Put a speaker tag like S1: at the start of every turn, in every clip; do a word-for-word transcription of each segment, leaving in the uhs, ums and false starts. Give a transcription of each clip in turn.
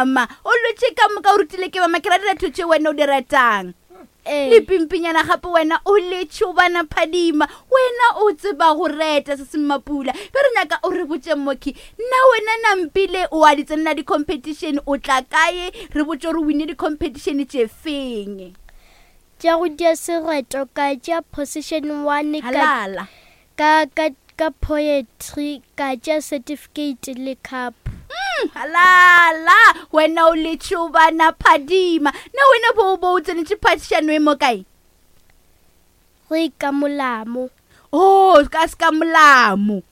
S1: mama o lwetse ka moka o rutile ke mama ke ra direto tše wena o di retang
S2: Ee.
S1: le pimpinyana gape wena o le tšhobana phadima wena o tseba go reta se se mmapula be re nyaka o re botse mokhi nna wena nampile o a di tsenela di-competition o tla kae re botse gore o wine di-competition tše feng
S2: Tša go dia sereto ka tšea position one ka
S1: halala
S2: ka ka ka poetry ka tšea certificate le cup.
S1: Halala wena o le tšhobana phadima na wena bo bo o tsenetse phadišano e mo kae
S2: Re ka molamo.
S1: o ka se ka molamo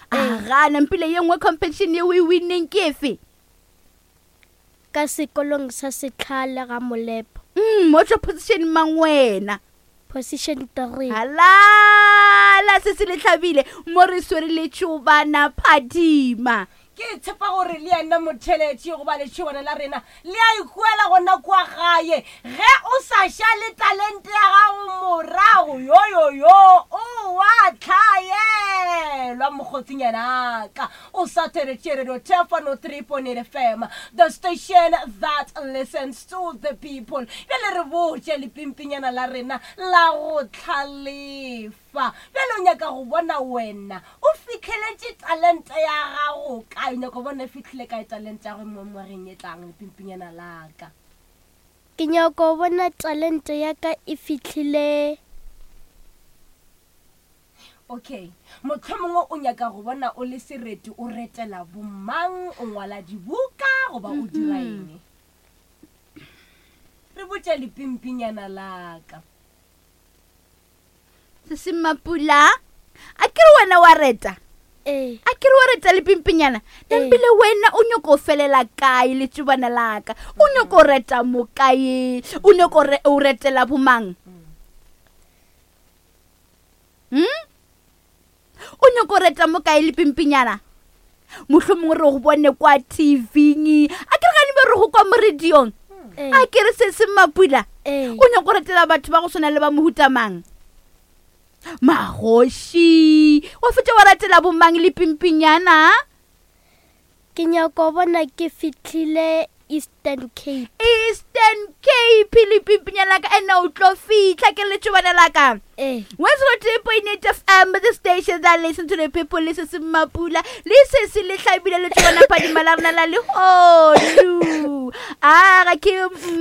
S1: aga nampile ye nngwe competition ye o e winneng ke efe
S2: Ka sekolong sa setlhale ga molepo.
S1: mm o tswa position mang wena
S2: Position three.
S1: halala se se le hlabile mo re swere le tšhobana phadima
S3: ke tshepa gore le yena motheletši goba letšhobana la rena le a ikuela gona kua gae ge o sa šale talente ya gago morago yoyoyo o wa tlhaelwa mokgotsinyana o sa theletše radio tefano three point eight fm the station that listens to the people bjale re botše lepimpinyana la rena la go tlhalefa bjale o nyaka go bona wena o fitlheletše talente ya gago kae o nyaka go bona e fitlhile kae talente ya go mo ngwageng e tlang lepimpinyana laka
S2: Ke nyaka go bona talente ya ka e fihlile
S3: okay mohlomongwe o nyaka go bona o le sereti o retela bomang o ngwala dibuka goba o dira eng re botše lepimpinyana laka
S1: se se mapula a ke re wena wa reta
S2: ee
S1: a ke re wa reta lepimpinyana nampile wena o nyako o felela kae letšobana laka o nyako o reta mo kae o nyako o re- o retela bomang hmm o nyako o reta mo kae lepimpinyana mohlomongwe re go bone kwa tvng a ke re gane be re go kwa mo radiong
S2: ee
S1: a ke re se se mapula
S2: ee
S1: o nyako retela batho ba go swana le ba mohutamang magoši wa fetša wa ratela bomang le pimpinyana
S2: ke nyaka go bona ke fihlile Eastern Cape.
S1: Eastern Cape le pimpinyana ka ene o tlo fitlha ke letšobana la ka
S2: Ee
S1: one zero three point eight fm the station that listen to the people le se se mapula le se se le hlabile letšobana phadima la rena la lehodu a ga ke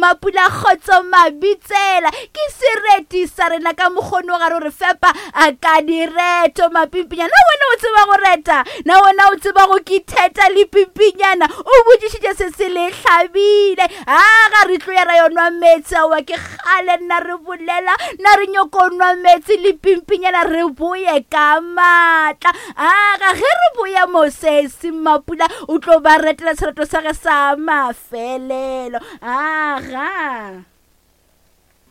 S1: mapula kgotso mabitsela ke sereti sa rena ka mokgono ga re re fepa a ka direto mapimpinyana na wena o tseba go reta na wena o tseba go kitheta le pimpinyana o botšišitše se se le hlabile a ga re tlo ya ra yo nwa meetse aowa ke kgale nna re bolela na re nyoko nwa meetse le pimpinyana re boye ka maatla aga ge re boya mosesi mapula o tlo ba retela sereto sa ge sa mafelelo aga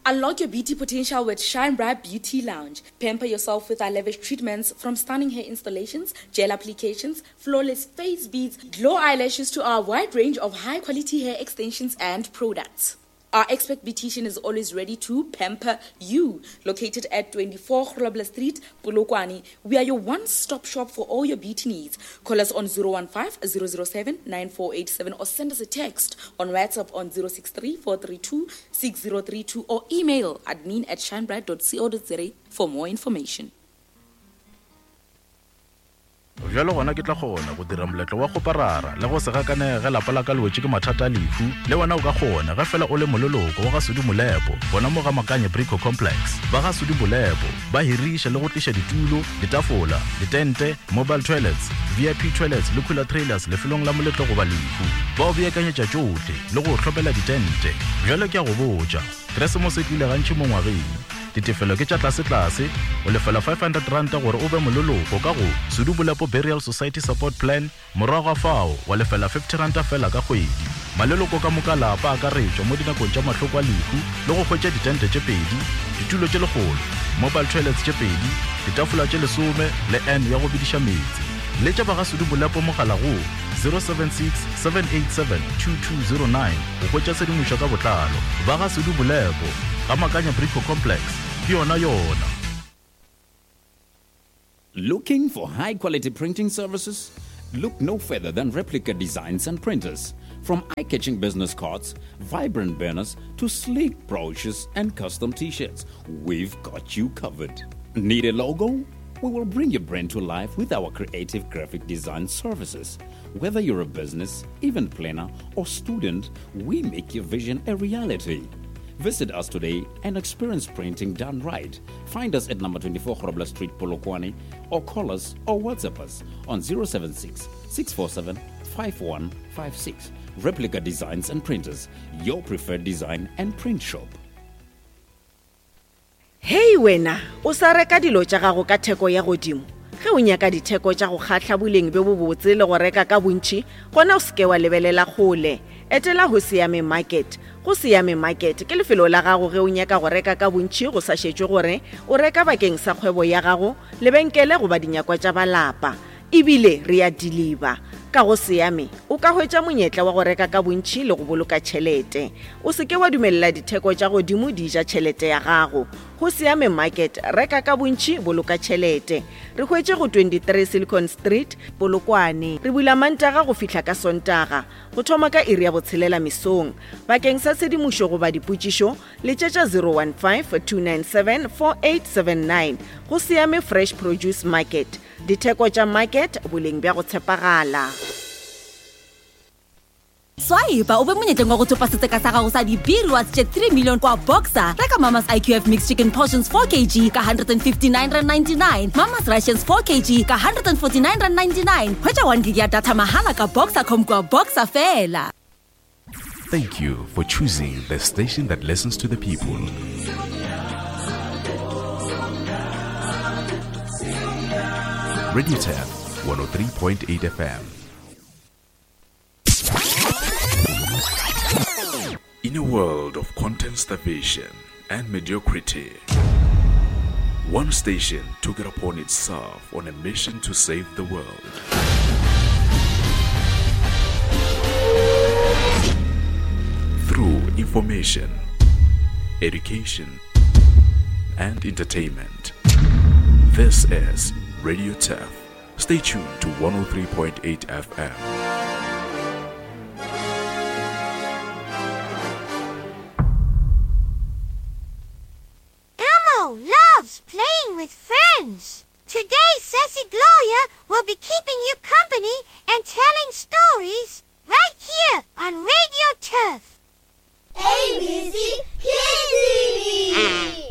S4: Unlock your beauty potential with Shine Bright Beauty Lounge. Pamper yourself with our lavish treatments from stunning hair installations, gel applications, flawless face beads, glow eyelashes to our wide range of high quality hair extensions and products. Our expert beautician is always ready to pamper you. Located at twenty-four Grobler Street, Polokwane, we are your one-stop shop for all your beauty needs. Call us on zero one five, zero zero seven, nine four eight seven or send us a text on WhatsApp on zero six three, four three two, six zero three two or email admin at shinebright dot co dot za for more information.
S5: Bjalo gona ke tla kgona go dira moletlo wa kgoparara le go se gakanege ge lapa la ka le wetše ke mathata a lehu. Le wena o ka kgona ge fela o le moleloko wa ga Sudi Molepo gona mo ga Makanye Brico Complex. Ba ga Sudi Molepo ba hiriša le go tliša ditulo, ditafola, ditente, mobile toilets, V I P toilets le cooler trailers lefelong la moletlo goba lehu. Ba o beakanyetša tšohle le go hlopela ditente. Bjalo ke a go botša, Keresemose e tlile gantši mo ngwageng. Ditefelo ke tša tlase-tlase, o lefela five hundred ranta gore o be moleloko ka go Sudi Molepo Burial Society Support Plan, morago ga fao wa lefela fifty ranta fela ka kgwedi. Maleloko ka moka lapa akaretšwa mo dinakong tša mahloko a lehu le go hwetša ditente tše pedi, ditulo tše lekgolo, mobile toilets tše pedi, ditafola tše lesome le N ya go bediša meetse. Letša ba ga Sudi Molepo mogala go zero seven six, seven eight seven, two two zero nine go hwetša tshedimošo ka botlalo. Ba ga Sudi Molepo, ga Makanya Brico Complex, ke yona yona.
S6: Looking for high quality printing services? Look no further than Replica Designs and Printers. From eye-catching business cards, vibrant banners, to sleek brochures and custom t-shirts, we've got you covered. Need a logo? We will bring your brand to life with our creative graphic design services. Whether you're a business, event planner, or student, we make your vision a reality. Visit us today and experience printing done right. Find us at number twenty-four Grobler Street, Polokwane, or call us or WhatsApp us on zero seven six, six four seven, five one five six. Replica Designs and Printers, your preferred design and print shop.
S7: Hey wena, o sa reka dilo tša gago ka theko ya godimo. Ge o nyaka ditheko tša go kgahla boleng bjo bobotse le go reka ka bontši, gona o seke wa lebelela kgole. Etela go Siame Market. Go Siame Market ke lefelo la gago ge o nyaka go reka ka bontši go sa šetšwe gore o reka bakeng sa kgwebo ya gago, lebenkele goba dinyakwa tša balapa. Ebile re a deliver. Ka go Siame o ka hwetša monyetla wa go reka ka bontši le go boloka tšhelete. O seke wa dumelela ditheko tša godimo di ja tšhelete ya gago. Go Siame Market, reka ka bontši, boloka tšhelete. Re hwetše go twenty-three Silicon Street, Polokwane. Re bula Mantaga go fihla ka Sontaga, go thoma ka iri ya botshelela mesong. Bakeng sa tshedimošo goba dipotšišo, letšetša zero one five, two nine seven, four eight seven nine. Go Siame Fresh Produce Market. Ditheko tša market, boleng bja go tshepagala.
S8: Swipe o be monyetleng wa go thopa setseka sa gago sa di-B-rewards tše three million kwa Boxer. Reka Mama's I Q F Mixed Chicken Portions four kilograms ka one fifty-nine rand ninety-nine, Mama's Rations four kilograms ka one forty-nine rand ninety-nine. Hwetša one gig ya data mahala ka Boxer dot com kwa Boxer fela.
S9: Thank you for choosing the station that listens to the people. Radio Turf one oh three point eight F M. In a world of content starvation and mediocrity, one station took it upon itself on a mission to save the world. Through information, education, and entertainment. This is Radio Turf. Stay tuned to one oh three point eight F M.
S10: Elmo loves playing with friends. Today, Sassy Gloria will be keeping you company and telling stories right here on Radio Turf.
S11: A B C Kids T V.